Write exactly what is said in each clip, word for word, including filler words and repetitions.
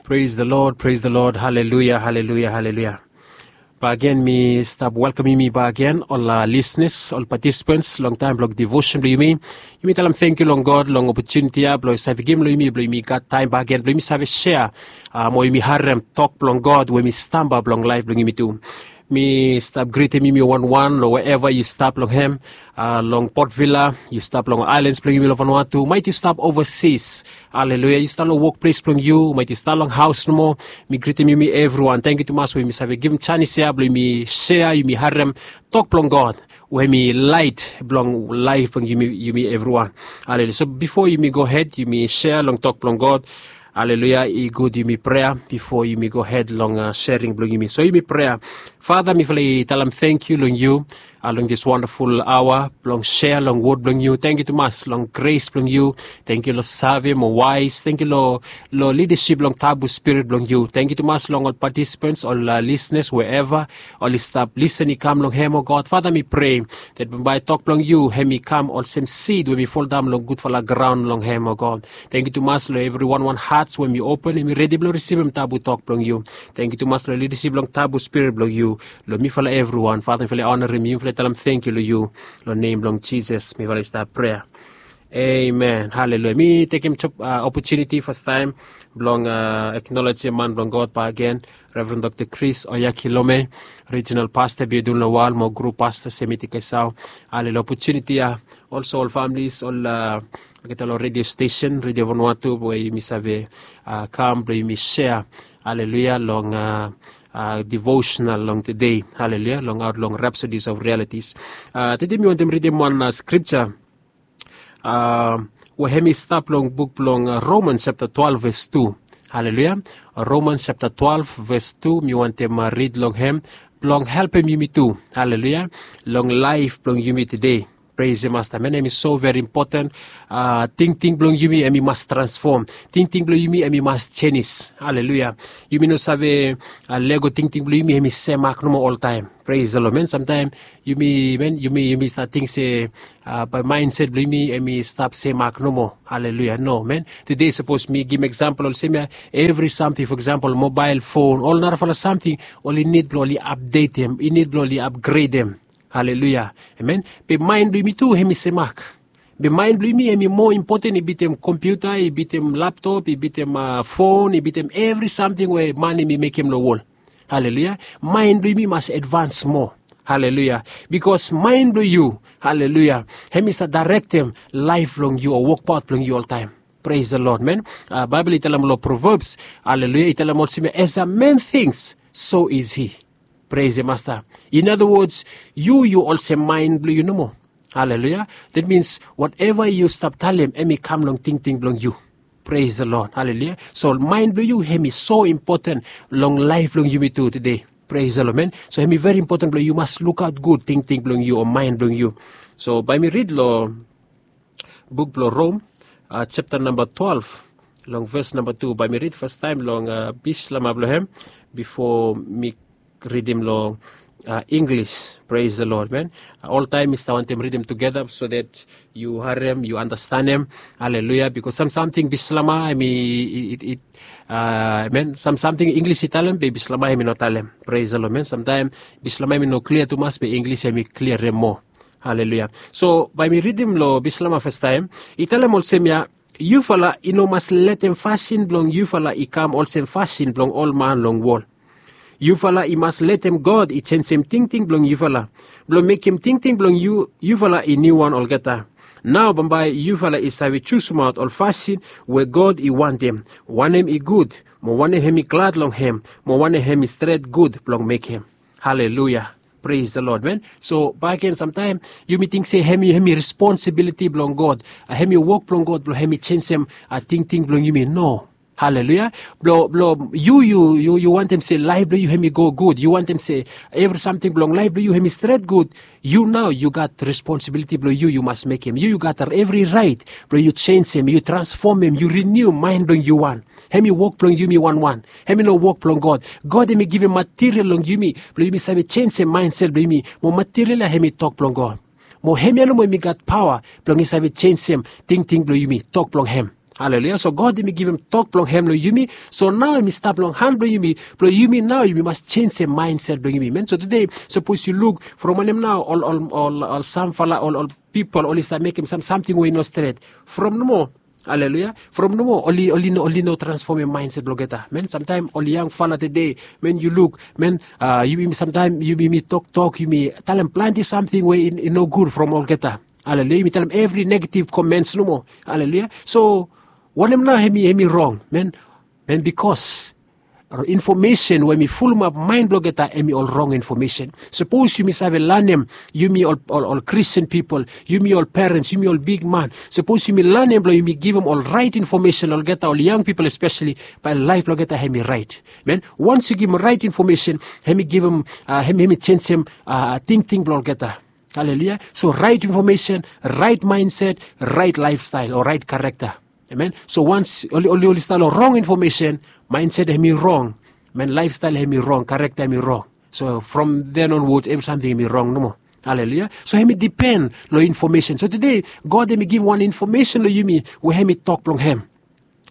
Pres de lod, pres de lod. Haleluya, haleluya, haleluya. Bagen mi stap welkamim yumi bagen ol lisnas, ol patisipens long taem blong devosen blong yumi. Yumi talem tangkiu long God long opotuniti ya blong i save givim long yumi blong yumi gat taem bagen blong yumi save sea mo yumi harem tok blong God we mi stamba blong laef blong yumi tu. Mi stap gritim yumi wanwan long weeva yu stap long hem, long Port Vila, yu stap long aelans blong yumi long Vanuatu, maet yu stap ovasis. Haleluya, yu stap long wokples blong yu, maet yu stap long haos nomo. Mi gritim yumi evriwan. Tangkiu tumas we yumi save givim janis ya blong yumi sea, yumi harem tok blong God we mi laet blong laef blong yumi, yumi evriwan. Haleluya. So bifo yumi gohed yumi sea long tok blong God, haleluya, i gud yumi prea bifo yumi gohed long sering blong yumi. So yumi prea. Fata, mifala i talem tangkiu long yu long dis wandaful aoa blong sea long wod blong yu. Tangkiu tumas long gres blong yu. Tangkiu long save mo waes. Tangkiu long lidasip blong tabu spirit blong yu. Tangkiu tumas long ol patisipens, ol lisnas, weeva oli stap lisen i kam long hem, o God. Fata, mi prea dat bambae tok blong yu hem i kam olsem sid we mi foldaon long gudfala graon long hem, o God. Tangkiu tumas long evri wanwan hats we mi open, hem i redi blong risivim tabu tok blong yu. Tangkiu tumas long lidasip blong tabu spirit blong yu long mifala evriwan. Fata, mifala i onarim yu, mifala i talem tangkiu long yu. Long nem blong Jisas mifala i stap prea. Amen. Haleluya. Mi tekem opotuniti fastaem blong eknolojem man blong God bagen, Reverend Dokta Chris Oyakhilome, rijinal pasta Biodun Lawal mo grup pasta Semiti Kesau. Haleluya. Opotuniti ya olso ol familis, ol olgeta long redio stesen, Redio Vanuatu, we yumi save kam blong yumi sea, haleluya, long devosenal long tede, haleluya, long aot long Rhapsodies of Realities. Tede mi wantem ridim wan skripja we hem i stap long buk blong Romans japta twelve ves tu. Haleluya. Romans japta twelve ves tu, mi wantem rid long hem blong helpem yumi tu, haleluya, long laef blong yumi tede. Pres de Masta. Amen. Hem i so veri impoten. Tingting blong yumi hem i mas transfom. Tingting blong yumi hem i mas jenis. Haleluya. Yumi no save lego tingting blong yumi hem i semak nomo oltaem. Pres de lod, man. Samtaem yumi, man, yumi, yumi save ting se bae maenset blong yumi hem i stap semak nomo. Haleluya. No, man. Tede sapos mi givim eksampol olsem ya, evri samting, fo eksampol mobael fon, ol narafala samting, oli nid blong oli apdetem, i nid blong oli apgredem. Haleluya. Amen. Be maen blong yumi tu hem i semak. Be maen blong yumi hem i moa impoten i bitim kompiuta, i bitim laptop, i bitim fon, i bitim evri samting we man hem i mekem long wol. Haleluya. Maen blong yumi mas advans moa. Haleluya. Bikos maen blong yu, haleluya, hem i save daerektem laef blong yu o wokbaot blong yu oltaem. Pres de lod, man. Baebol i talem long Proverbs, haleluya, i talem olsem ya, as a man thinks, so is he. Pres de Masta. In other words, yu, yu olsem maen blong yu nomo. Haleluya. Dat mins wateva yu stap talem hem i kam long tingting blong yu. Pres de lod. Haleluya. So maen blong yu hem i so impoten long laef blong yumi tu tede. Pres de lod, man. So hem i veri impoten blong yu mas lukaot gud tingting blong yu o maen blong yu. So bae mi rid long buk blong Rom, japta namba twelve, long ves namba tu. Bae mi rid fastaem long bislama blong hem bifo mi ridim long Inglis. Pres de lod, man. Oltaem mi stap wantem ridim tugeta so dat yu harem, yu andastanem. Haleluya. Bikos sam samting bislama hem i, i, i, man, sam samting Inglis i talem be bislama hem i no talem. Pres de lod, man. Samtaem bislama hem i no klia tumas be Inglis hem i kliarem moa. Haleluya. So bae mi ridim long bislama fastaem. I talem olsem ya, yufala i no mas letem fasin blong yufala i kam olsem fasin blong ol man long wol. Yufala i mas letem God i jenisim tingting blong yufala, blong mekem tingting blong yu, yufala i niuwan olgeta. Nao bambae yufala i save jusimaot ol fasin we God i wantem, wanem i gud, mo wanem hem i glad long hem, mo wanem hem i stret gud blong mekem. Haleluya. Pres de lod, man. So bakegen samtaem yumi ting se hem i, hem i responsibiliti blong God, hem i wok blong God blong hem i jenisim tingting blong yumi. No. Haleluya. Blong, blong yu, yu, yu, yu wantem se laef blong yu hem i go gud, yu wantem se evri samting blong laef blong yu hem i stret gud, yu nao yu gat responsibiliti blong yu, yu mas mekem. Yu, yu gat evri raet blong yu jenisim, yu transfomem, yu riniu maen blong yu wan. Hem i wok blong yumi wanwan. Hem i no wok blong God. God hem i givim material long yumi blong yumi save jenisim maenset blong yumi. Mo material ya hem i tok blong God. Mo hemia nomo hem i gat paoa blong i save jenisim tingting blong yumi, tok blong hem. Haleluya. So God hemi givim tok blong hem long yumi. So nao hemi stap long han blong yumi. Blong yumi nao yumi mas jenjem maenset blong yumi, men. So tude sapos yu luk from wanem nao ol ol ol ol samfala ol ol pipol oli stap mekem sam samting we i no stret. From nomo, haleluya, from nomo oli oli no oli no transfomem maenset blong olgeta, men. Samtaem ol yangfala tude, men, yu luk, men, yumi samtaem yumi toktok, yumi talem plante samting we i no gud from olgeta. Haleluya. Yumi talem evri negativ komens nomo. Haleluya. So wanem nao hemi hemi rong, men? Men, bikos infomesen we hemi fulumap maen blong olgeta hemi ol rong infomesen. Sapos yumi save lanem, yumi ol ol ol Kristin pipol, yumi ol perens, yumi ol bigman, sapos yumi lanem blong yumi givim ol raet infomesen long olgeta, ol yang pipol espeseli, bae laef blong olgeta hemi raet, men. Wans yu givim raet infomesen, hemi givim, hemi hemi jenjem tingting blong olgeta. Haleluya. So raet infomesen, raet maenset, raet laefstael o raet karekta. Amen. So wans oli oli oli stap long rong infomesen, maenset hemi rong, men, laefstael hemi rong, karekta hemi rong. So from then onwards evri samting hemi rong nomo. Haleluya. So hemi dipen long infomesen. So tude God hemi givim wan infomesen long yumi we hemi tok blong hem.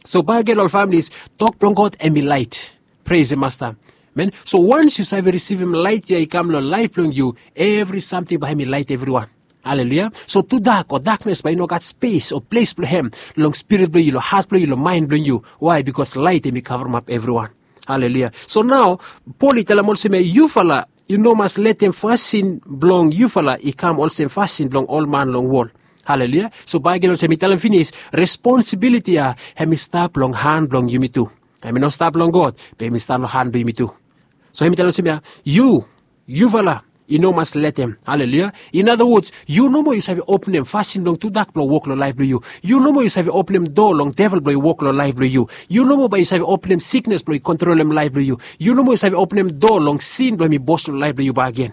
So bakegen ol familis, tok blong God hemi laet. Pres the Masta. Men, so wans yu save risivim laet ya i kam long laef blong yu, evri samting bae hemi laet evriwan. Haleluya. So tudak o daknes bae i no gat spes o ples blong hem long spirit blong yu, long hat blong yu, long maen blong yu. Wae? Bikos laet hemi kavremap evriwan. Haleluya. So nao Pol i talem olsem ya, yufala i no mas letem fasin blong yufala i kam olsem fasin blong ol man long wol. Haleluya. So bakegen olsem mi talem finis, responsibiliti ya hemi stap long han blong yumi tu. Hemi no stap long God, be hemi stap long han blong yumi tu. So hemi talem olsem ya, yu, yufala i no mas letem. Haleluya. In other words, yu nomo yu save openem fasin blong tudak blong wok long laef blong yu. Yu nomo yu save openem doa long devel blong i wok long laef blong yu. Yu nomo bae yu save openem siknes blong i kontrolem laef blong yu. Yu nomo yu save openem doa long sin blong hemi bos long laef blong yu bakegen.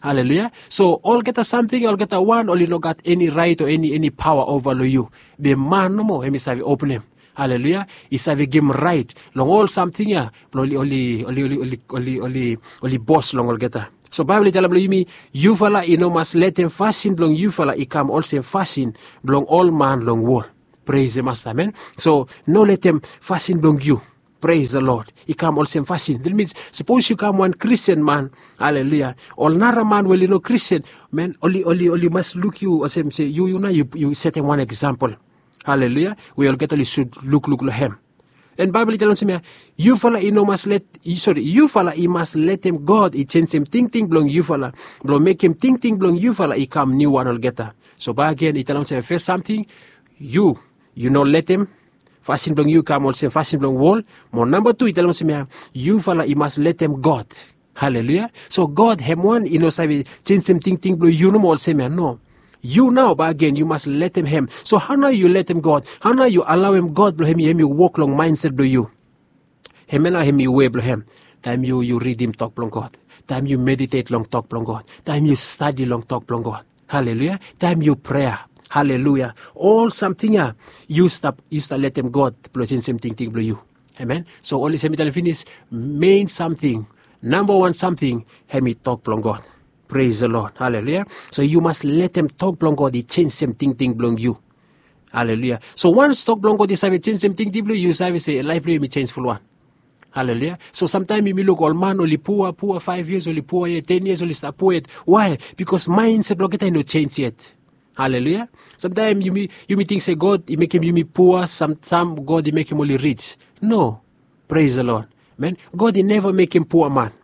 Haleluya. So olgeta samting ya, olgeta wan, oli no gat eni raet o eni eni paoa ova long yu. Be man nomo hemi save openem. Haleluya. I save givim raet long ol samting ya blong oli oli oli oli oli oli oli bos long olgeta. So Baebol i talem long yumi, yufala i no mas letem fasin blong yufala i kam olsem fasin blong ol man long wol. Pres the Masta, amen. So no letem fasin blong yu, pres the Lord, i kam olsem fasin. That means sapos yu kam wan Kristin man, haleluya, ol nara man we oli no Kristin, men, oli oli oli mas luk yu olsem se yu yu nao yu yu setem wan eksampol. Haleluya. We olgeta oli sud lukluk long hem. And Baebol i talem olsem ya, yufala i no mas let, sori, yufala i mas letem God i jenjem tingting blong yufala, blong mekem tingting blong yufala i kam niuwan olgeta. So bakegen i talem olsem ya, fes samting, yu yu no letem fasin blong yu i kam olsem fasin blong wol. Mo namba tu i talem olsem ya, yufala i mas letem God. Haleluya. So God hem wan i no save jenjem tingting blong yu nomo olsem ya, no. Yu nao bakegen yu mas letem hem. So hao nao yu letem God? Hao nao yu alaoem God blong hem i hem i wok long maenset blong yu? Hemia nao hem i we blong hem. Taem yu yu ridim tok blong God, taem yu meditet long tok blong God, taem yu stadi long tok blong God, haleluya, taem yu prea, haleluya, ol samting ya yu stap yu stap letem God blong jenjem tingting blong yu. Amen. So oli se mi talem finis, mein samting, nambawan samting, hem i tok blong God. Pres the Lord. Haleluya. So yu mas letem tok blong God i jenjem tingting blong yu. Haleluya. So wans tok blong God i save jenjem tingting blong yu, yu save se laef blong yu hem i jenj fulwan. Haleluya. So samtaem yumi luk ol man oli pua pua, faef yias oli pua yet, ten yias oli stap pua yet. Wae? Bikos maenset blong olgeta i no jenj yet. Haleluya. Samtaem yumi yumi ting se God i mekem yumi pua, sam sam God i mekem oli rij. No. Pres the Lord. Men, God i neva mekem pua man.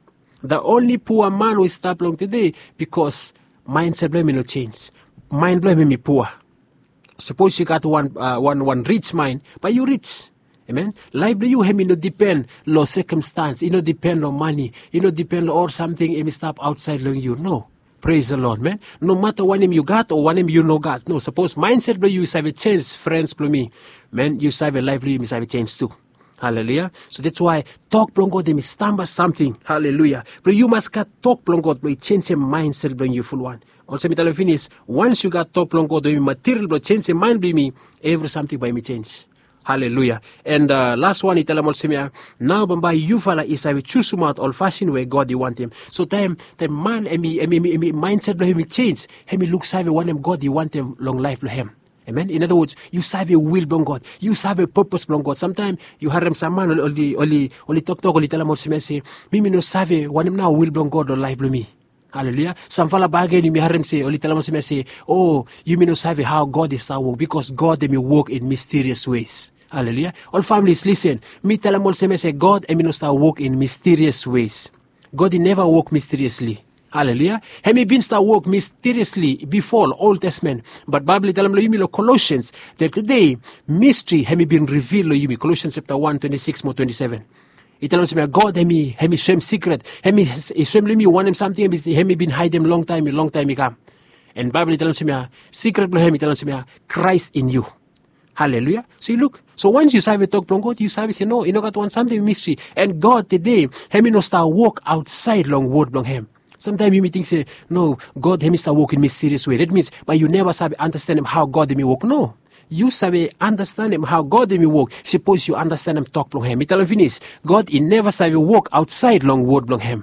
The only pua man we i stap long tude, bikos maenset blong hem i no jenj. Maen blong hem hem i pua. Sapos yu gat wan wan wan rij maen, bae yu rij. Amen. Laef blong yu hem i no dipen long sekamstans, i no dipen long mane, i no dipen long ol samting hem i stap aotsaed long yu. No. Pres the Lord, men. Nomata wanem yu gat o wanem yu no gat, no, sapos maenset blong yu i save jenj, frens blong mi, men, yu save laef blong yu hem i save jenj tu. Haleluya. So dats wae tok blong God hem i stamba samting. Haleluya. Blong yu mas gat tok blong God blong i jenjem maenset blong yu fulwan. Olsem mi talem finis, wans yu gat tok blong God we hem i material blong jenjem maen blong yumi, evri samting bae hem i jenj. Haleluya. And laswan i talem olsem ya, nao bambae yufala i save jusumaot ol fasin we God i wantem. So taem taem man hem i hem i maenset blong hem i jenj, hem i luksave wanem God i wantem long laef blong hem. Amen. In other words, yu save wil blong God, yu save purpose blong God. Samtaim yu harem sam man oli oli oli toktok, oli talem olsem ya se, mi mi no save wanem nao wil blong God long laif blong mi. Haleluya. Samfala bagen yumi harem se oli talem olsem ya se, o, yumi no save hao God i stap wok, bikos God em i wok in misterious ways. Haleluya. Ol families, lisen, mi talem olsem ya se God em i no stap wok in misterious ways. God i neva wok misteriously. Haleluya. Hem i bin stap wok misteriously bifo long Old Testament. Bat Baibel i talem long yumi long Colossians, that today, mystery hem i bin reveal long yumi. Colossians chapter one twenty-six mo twenty-seven. I talem olsem ya, God hem i hem i soem sikret. Hem i soem long yumi wanem samting hem i bin haidem longtaim longtaim i kam. And Baibel i talem olsem ya, sikret blong hem i talem olsem ya, Christ in you. Haleluya. So yu luk, so wans yu save tok blong God, yu save se no, i no gat wan samting mistri. And God tede hem i no stap wok aotsaed long wod blong hem. Samtaim yumi ting se, no, God hem i stap wok in misterious wei. Dat mins bae yu neva save anastenem hao God hem i wok. No, yu save anastenem hao God hem i wok sapos yu anastenem tok blong hem. Mi talem finis, God i neva save wok aotsaed long wod blong hem.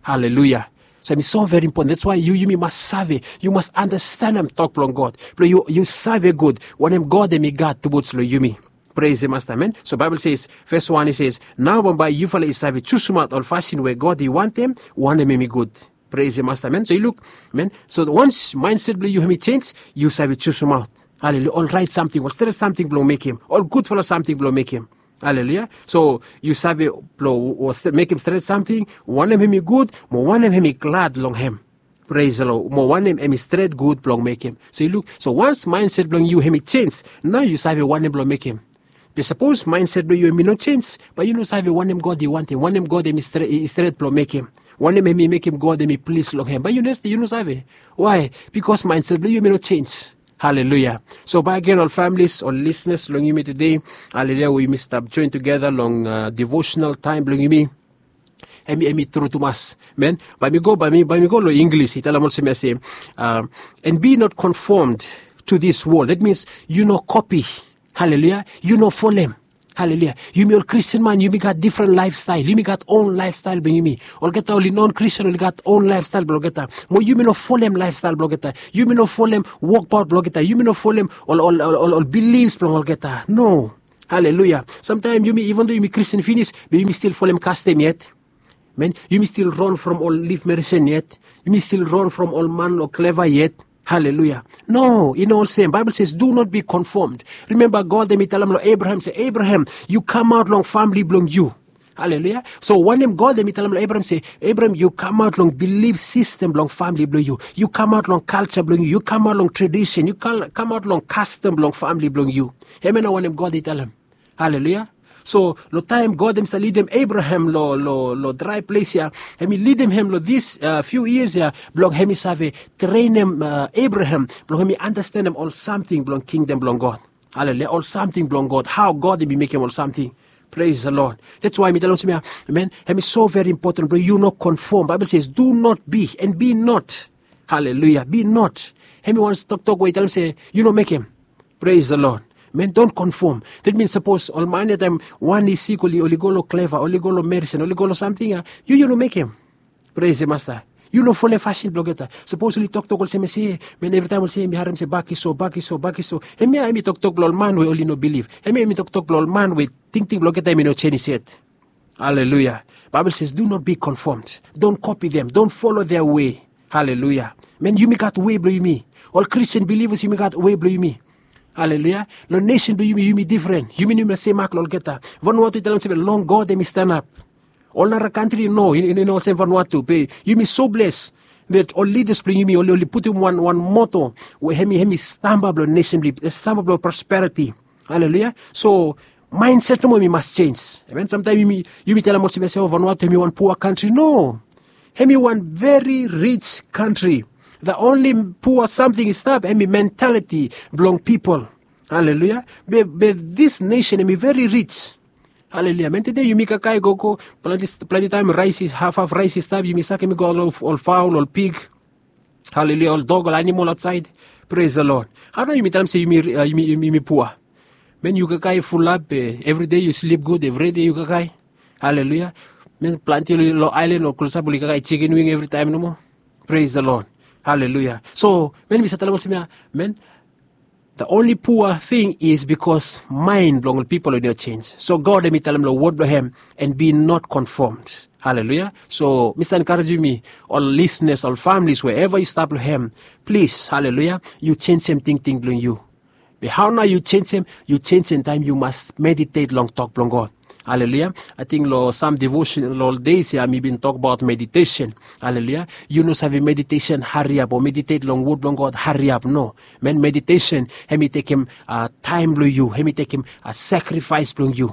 Haleluya. So hem i so veri impoten. Dats wae yu yumi mas save, yu mas anastenem tok blong God blong yu save gud wanem God hem i gat tubuts long yumi. Pres e masta, amen. So Baibel ses, fes wan i ses, nao bambae yufala i save jusumaot ol fasin we God i wantem wanem hem i gud. Pres e masta, amen. So yu luk, amen. So wans maenset blong yu hem i jenj, yu save jusumaot. Haleluya. Ol raet samting, ol stret samting blong mekem, ol gudfala samting blong mekem. Haleluya. So yu save blong mekem stret samting, wanem hem i gud mo wanem hem i glad long hem. Pres long, mo wanem hem i stret gud blong mekem. So yu luk, so wans maenset blong yu hem i jenj, nao yu save wanem blong mekem. Be sapos maenset blong yu hem i no jenj, bae yu no save wanem God i wantem, wanem God hem i stret blong mekem, wanem hem i mekem God hem i plis long hem. Bae yu no save. Wae? Bikos maenset blong yu hem i no jenj. Haleluya. So bae gen ol familis, ol lisenas long yumi tede, haleluya, we yumi stap joen tugeta long devosenal taem blong yumi, hem i tru tumas, amen. Bae mi go, bae mi go long Inglis. I talem olsem ya se, and be not conformed to this world. Dat mins yu no kopi. Haleluya. Yu no folem. Haleluya. Yumi ol Kristin man yumi gat difren laefstael, yumi gat on laefstael blong yumi. Olgeta oli non Kristin oli gat on laefstael blong olgeta. Mo yumi no folem laefstael blong olgeta. Yumi no folem wokbaot blong olgeta. Yumi no folem ol bilifs blong olgeta. No. Haleluya. Samtaem yumi, iven do yumi Kristin finis, be yumi stil folem kastom yet. Amen. Yumi stil ran from ol lif medisen yet. Yumi stil ran from ol man long kleva yet. Haleluya. No, i no olsem. Baebol ses, do not be conformed. Rimemba God hem i talem long Abraham se, Abraham, yu kamaot long famili blong yu. Haleluya. So wanem God hem i talem long Abraham se, Abraham, yu kamaot long bilif sistem blong famili blong yu. Yu kamaot long kalja blong yu. Yu kamaot long tradisen. Yu kamaot long kastom blong famili blong yu. Hemia nao wanem God i talem. Haleluya. So long taem God hem i save lidim Abraham long drae ples ya, hem i lidim hem long dis fiu yias ya, blong hem i save trenem Abraham blong hem i anastenem ol samting blong kingdom blong God. Haleluya. Ol samting blong God, hao God hem i mekem ol samting. Pres the Lord. That's why mi talem olsem ya, amen, hem i so veri impoten blong yu no konfom. Baebol ses, do not be and be not. Haleluya. Be not. Hem i wan toktok we i talem se yu no mekem. Pres the Lord. Men, don't conform. Dat mins sapos ol man ya taem wan i sik, oli go long kleva, oli go long medisen, oli go long samting ya, yu yu no mekem. Pres the Masta. Yu no folem fasin blong olgeta. Sapos oli toktok olsem ya se, men, evritaem olsem ya mi harem se bak i so, bak i so, bak i so. Hemia hem i toktok blong ol man we oli no bilif. Hemia hem i toktok blong ol man we tingting blong olgeta hem i no jenis yet. Haleluya. Baebol ses, do not be conformed. Don't copy them. Don't follow their way. Haleluya. Men, yumi gat wei blong yumi. Ol Kristin bilivas yumi gat wei blong yumi. Haleluya. Long nesen blong yumi, yumi difren. Yumi no yumi sem mak long olgeta. Vanuatu i talem se long God hem i stanap. Ol nara kantri no, i no olsem Vanuatu. Be yumi so bles that ol lidas blong yumi oli putum wan moto we hem i stamba blong nesen blong yumi, stamba blong prosperiti. Haleluya. So maenset nomo hem i mas jenj. Amen. Samtaem yumi talem olsem ya se, o, Vanuatu hem i wan pua kantri. No. Hem i wan veri rij kantri. The only pua samting i stap hem i mentaliti blong pipol. Haleluya. Be dis nesen hem i veri rij. Haleluya. Men, tede yumi kakae gogo, plante taem raes i, hafhaf raes i stap, yumi sakem i go long ol faol, ol pig. Haleluya. Ol dog, ol anamol aotsaed. Pres the Lord. Hao nao yumi talem se yumi pua? Men, yu kakae fulap, evride yu slip gud, evride yu kakae. Haleluya. Men, plante long aelan o klosap oli kakae jikin wing evritaem nomo. Pres the Lord. Haleluya. So men, mi save talem olsem ya, men, The only pua thing is because mind blong ol pipol oli no jenis. So God hem i talem long wod blong hem, and be not conformed. Haleluya. So mi save enkarejem yumi ol lisenas, ol familis, wherever yu stap long hem, plis, haleluya, yu jenisim tingting blong yu. Be hao nao yu jenisim? Yu jenisim taem yu mas meditet long tok blong God. Haleluya. Ating long sam devotion long ol deis ya mi bin tokbaot meditesen. Haleluya. Yu no save meditesen hariap o meditet long wod blong God hariap, no. Man, meditesen hem i tekem taem blong yu, hem i tekem sakrifaes blong yu.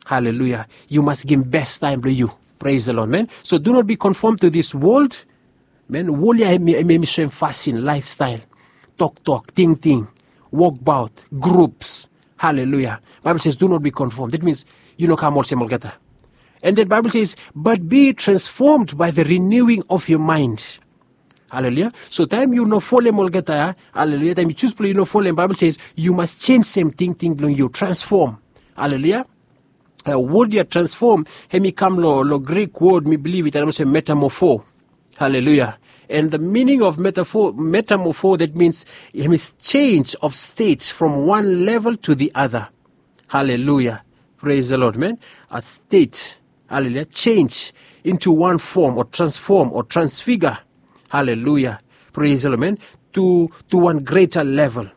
Haleluya. Yu mas givim bes taem blong yu. Pres the Lord, man. So do not be conformed to this world. Man, wol ya hem i soem fasin, laefstael, toktok, tingting, wokbaot, grups. Haleluya. Baebol ses do not be conformed. That means yu no kam olsem olgeta. And then Baebol ses, but be transformed by the renewing of your mind. Haleluya. So taem yu no folem olgeta ya, haleluya, taem yu jus blong yu no folem, Baebol ses yu mas jenisim tingting blong yu, transform. Haleluya. Wod ya transform hem i kam long Grik wod, mi bilif i talem olsem metamorpho. Haleluya. And the meaning of metamorpho, that means hem i change of state from one level to the other. Haleluya. Pres the Lord, man. A state, haleluya, change into one form or transform or transfigure. Haleluya. Pres the Lord, man. To one greater level.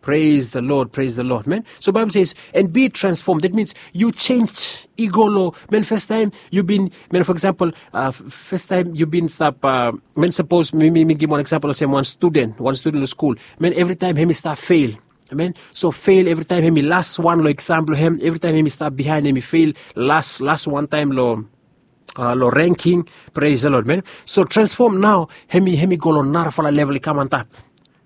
Pres the Lord, pres the Lord, man. So Baebol ses, and be transformed. That means yu jenis. I go long, man, fastaem yu bin, man, fo eksampol, fastaem yu bin stap, man, sapos mi givim wan eksampol olsem wan studen, wan studen long skul. Man, evritaem hem i stap fel. Man, so fel evritaem, hem i las wan long eksam blong hem, evritaem hem i stap bihaen, hem i fel, las, las wantaem long long renking. Pres the Lord, man. So transform nao, hem i go long narafala level i kam antap.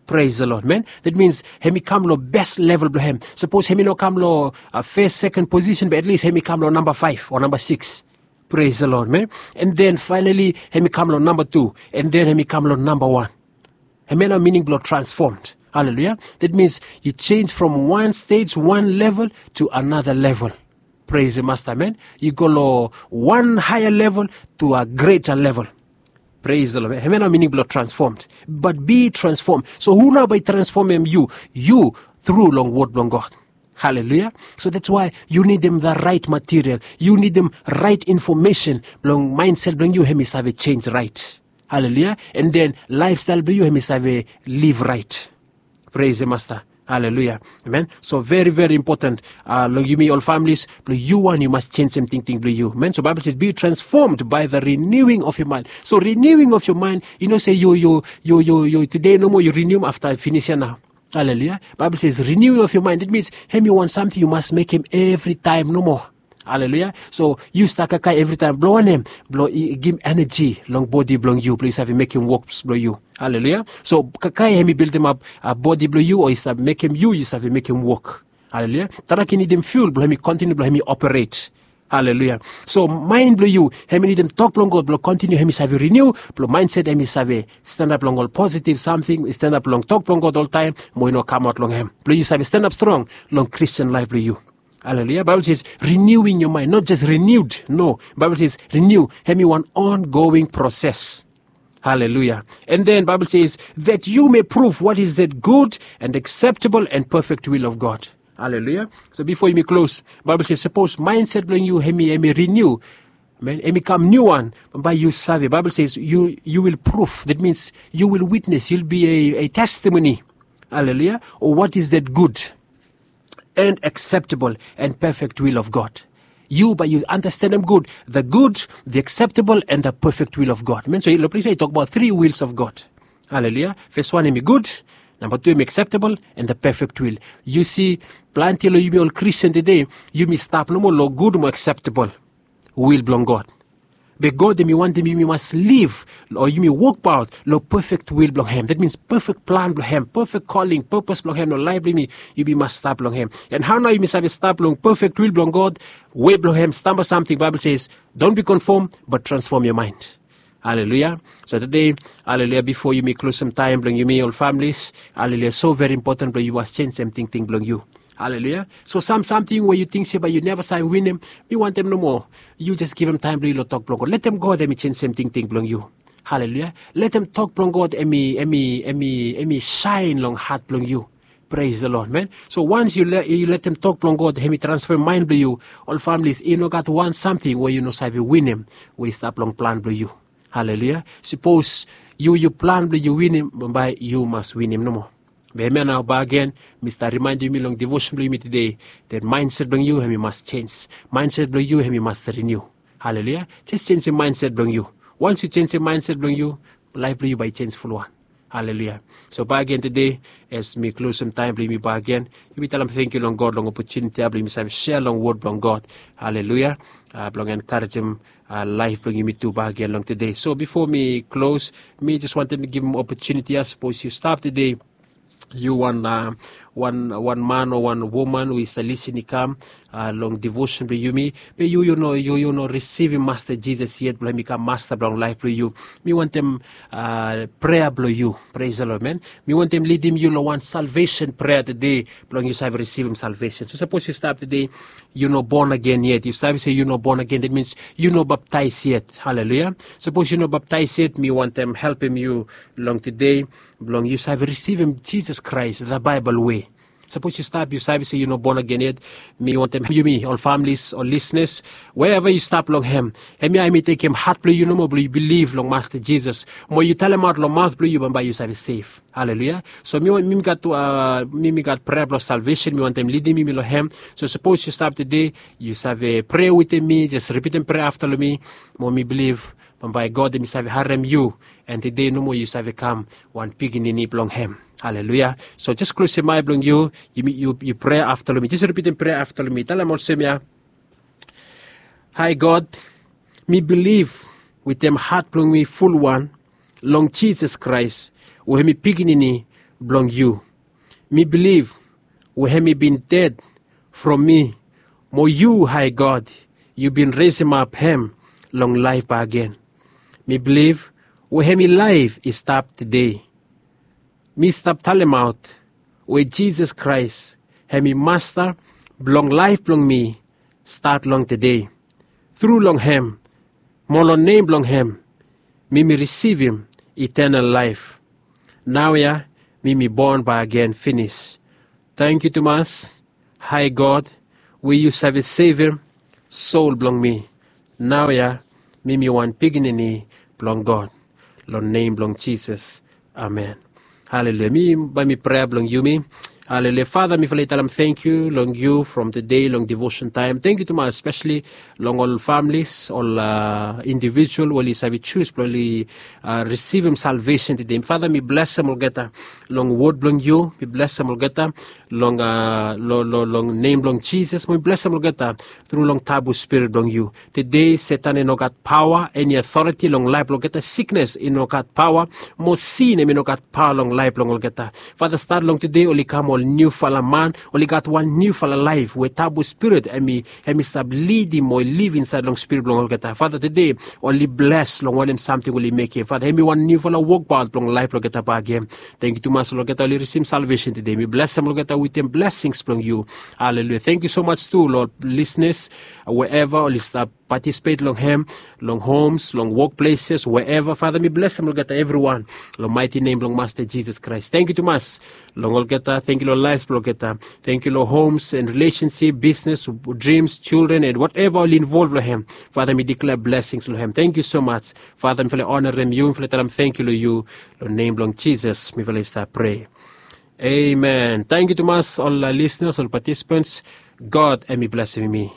Pres the Lord, man. That means hem i kam long bes level blong hem. Sapos hem i no kam long fes, seken posisen, be at least hem i kam long namba faef o namba sikis. Pres the Lord, man. And then faenali hem i kam long namba tu, and then hem i kam long namba wan. Hem ya nao mining blong transformed. Haleluya. That means yu jenis from wan stej, wan level to another level. Pres the Masta, man. Yu go long wan haea level to a greta level. Pres the Lord. Hem ya nao mining blong transformed. But be transformed. So hu nao bae i transfomem yu? Yu, tru long wod blong God. Haleluya. So that's why yu nidim the right material, yu nidim right infomesen blong maenset blong yu hem i save jenis raet. Haleluya. And then laefstael blong yu hem i save liv raet. Pres the Masta. Haleluya. Amen. So veri veri impoten long yumi ol familis blong yu wan yu mas jenisim tingting blong yu. Amen. So Baebol ses be transformed by the renewing of your mind. So renewing of your mind, yu no se yu, yu, yu, yu tude nomo yu rinium afta finis ya nao. Haleluya. Baebol ses renewing of your mind, that means hem i wan samting yu mas mekem evritaem nomo. Haleluya. So yu stap kakae evritaem blong wanem? Blong i givim eneji long bodi blong yu blong yu save mekem woks blong yu. Haleluya. So kakae hem i bildimap bodi blong yu o i stap mekem yu yu save mekem wok. Haleluya. Trak i nidim fiul blong hem i kontiniu blong hem i operet. Haleluya. So maen blong yu hem i nidim tok blong God blong kontiniu hem i save riniu, blong maenset hem i save stanap long ol positiv samting, i stanap long tok blong God oltaem, mo i no kamaot long hem, blong yu save stanap strong long Kristin laef blong yu. Haleluya. Baebol ses renewing your mind, not just renewed. No. Baebol ses riniu hem i wan ongoing proses. Haleluya. And then Baebol ses that you may prove what is that good and acceptable and perfect will of God. Haleluya. So bifo yumi klos, Baebol ses sapos maenset blong yu hem i riniu, man, hem i kam niuwan, bae yu save. Baebol ses you will prove, that means you will witness, you'll be a testimony. Haleluya. O what is that good and acceptable and perfect will of God. Yu bae yu andastanem gud the good, the acceptable and the perfect will of God. Amen. So long ples ya i tokbaot tri wils of God. Haleluya. Fes wan hem i gud, namba tu hem i acceptable, and the perfect will. Yu si, plante long yumi ol Kristin tude, yumi stap nomo long gud mo acceptable wil blong God. Be God hem i wantem yumi mas liv o yumi wokbaot long pefek wil blong hem. That means pefek plan blong hem, pefek koling, pepes blong hem long laef blong yumi. Yumi mas stap long hem. And hao nao yumi save stap long pefek wil blong God? Wei blong hem stamba samting. Baebol ses, don't be conformed but transform your mind. Haleluya. So tude, haleluya, bifo yumi klosem taem blong yumi ol familis, haleluya, so veri impoten blong yu mas jenisim tingting blong yu. Haleluya. So sam samting we yu ting se bae yu neva save winim, mi wantem nomo yu jes givim taem blong yu long tok blong God. Letem God hem i jenisim tingting blong yu. Haleluya. Letem tok blong God hem i, hem i, hem i, hem i saen long hat blong yu. Pres the Lord, man. So wans yu letem tok blong God, hem i transfem maen blong yu, ol familis, i no gat wan samting we yu no save winim we i stap long plan blong yu. Haleluya. Sapos yu yu plan blong yu winim, bambae yu mas winim nomo. Be hemia nao bakegen mi stap rimaendim yumi long devosen blong yumi tede, that mindset blong yu hem i mas jenj. Mindset blong yu hem i mas riniu. Haleluya. Jes jenjem mindset blong yu. Wans yu jenjem mindset blong yu, laef blong yu bae i jenj fulwan. Haleluya. So bakegen tede, as mi klosem taem blong yumi bakegen, yumi talem tangkiu long God long opotuniti ya blong yumi save sea long wod blong God. Haleluya. Blong enkarejem laef blong yumi tu bakegen long tede. So bifo mi klos, mi jes wantem givim opotuniti ya, sapos yu stap tede, yu wan wan man o wan woman we i stap lisin i kam long devosen blong yumi, be yu yu no yu yu no risivim Masta Jisas yet blong hem i kam Masta blong laef blong yu. Mi wantem prea blong yu. Pres the Lord, man. Mi wantem lidim yu long wan salvesen prea tede blong yu save risivim salvesen. So sapos yu stap tede, yu no bon agen yet, yu save se yu no bon agen, that means yu no baptaes yet. Haleluya. Sapos yu no baptaes yet, mi wantem helpem yu long tede blong yu save risivim Jisas Kraes the Baebol wei. Sapos yu stap, yu save se yu no bon agen yet, mi wantem yumi ol familis, ol lisnas, wherever yu stap long hem, hemia hem i tekem hat blong yu nomo blong yu bilif long Masta Jisas, mo yu talemaot long maot blong yu, bambae yu save sev. Haleluya. So mi wan mi mi gat mi mi gat prea blong salvesen, mi wantem lidim yumi long hem. So sapos yu stap tede, yu save prea wetem mi, jes ripitem prea afta long mi, mo mi bilif bambae God hem i save harem yu, and tede nomo yu save kam wan pikinini blong hem. Haleluya. So jes klosem ae blong yu, yu prea afta long mi, jes ripitem prea afta long mi. Talem olsem ya. Hae God, mi bilif wetem hat blong mi fulwan long Jisas Kraes, we hem i pikinini blong yu. Mi bilif we hem i bin ded from mi, mo yu, hae God, yu bin resemap hem long laef bakegen. Mi bilif we hem i laef i stap tede. Mi stap talemaot we Jisas Kraes hem i Masta blong laef blong mi stat long tede. Tru long hem, mo long nem blong hem, mi mi risivim itenal laef. Naoia mi mi bon bakegen finis. Tangkiu tumas, hae God, we yu save sevem sol blong mi. Naoia mi mi wan pikinini blong God. Long nem blong Jisas. Amen. Haleluya. Mi bae mi prea blong yumi. Haleluya. Fata, mifala i talem tangkiu long yu from tede long devosen taem. Tangkiu tumas, espeseli long ol familis, ol indivijual we oli save jus blong oli risivim salvesen tede. Fata, mi blesem olgeta long wod blong yu. Mi blesem olgeta long a long nem blong Jisas. Mi blesem olgeta tru long tabu spirit blong yu. Tede Setan i no gat paoa, eni otoriti long laef blong olgeta. Siknes i no gat paoa, mo sin hem i no gat paoa long laef blong olgeta. Fata, stat long tede oli kam ol niufala man, oli gat wan niufala laef we tabu spirit hem i hem i stap lidim mo i liv insaed long spirit blong olgeta. Fata, tede oli bles long wanem samting oli mekem. Fata, hem i wan niufala wokbaot blong laef blong olgeta bakegen. Tangkiu tumas long olgeta oli risivim salvesen tede. Mi blesem olgeta wetem blesings blong yu. Haleluya. Tangkiu somaj tu long ol lisnas, wherever oli stap patisipet long hem, long homes, long wokpleses, wherever. Fata, mi blesem olgeta evriwan long maeti nem blong Masta Jisas Kraes. Tangkiu tumas long olgeta. Tangkiu long laef blong olgeta. Tangkiu long homes and relationship, business, dreams, children, and whatever oli involv long hem. Fata, mi diklea blesings long hem. Tangkiu somaj. Fata, mifala i onarem yu, mifala i talem tangkiu long yu. Long nem blong Jisas mifala i stap prea. Amen. Tangkiu tumas ol lisnas, ol patisipants. God hem i blesem yumi.